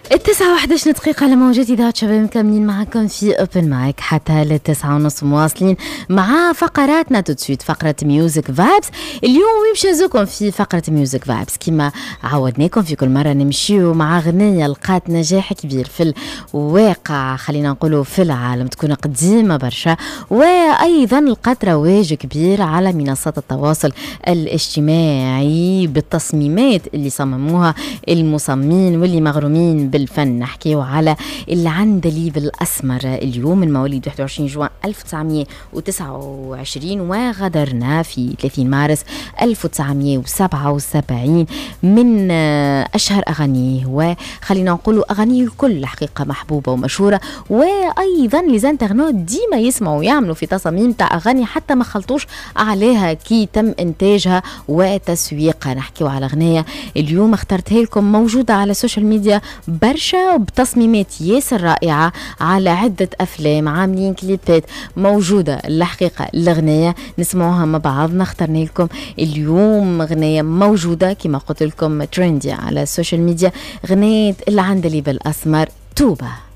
9:11 دقيقة على موجات إذاعة شباب، مكملين معكم في Open Mic حتى ل9:30، مواصلين مع فقراتنا. tout de suite فقرة Music Vibes. اليوم باش نهزوكم في فقرة Music Vibes كما عودناكم في كل مرة، نمشيو مع غنية لقات نجاح كبير في الواقع، خلينا نقولوا في العالم، تكون قديمة برشا وأيضا لقات رواج كبير على منصات التواصل الاجتماعي بالتصميمات اللي صمموها المصممين واللي مغرومين بالفن. نحكيو على العندليب الأسمر اليوم، من مواليد 21 جوان 1929 وغادرنا في 30 مارس 1977. من أشهر أغانيه، وخلينا نقولوا أغانيه الكل حقيقة محبوبة ومشهورة، وأيضا les internautes ديما يسمعوا ويعملوا في تصاميم تاع أغاني حتى ما خلطوش عليها كي تم إنتاجها وتسويقها. نحكيو على أغنية اليوم اخترتها لكم، موجودة على السوشيال ميديا برشا بتصميمات ياسر رائعة على عدة أفلام، عاملين كليبات، موجودة الحقيقة الأغنية، نسمعوها مع بعضنا. اخترنا لكم اليوم أغنية موجودة كما قلت لكم trendy على السوشيال ميديا، غنية العندليب الأسمر، توبة.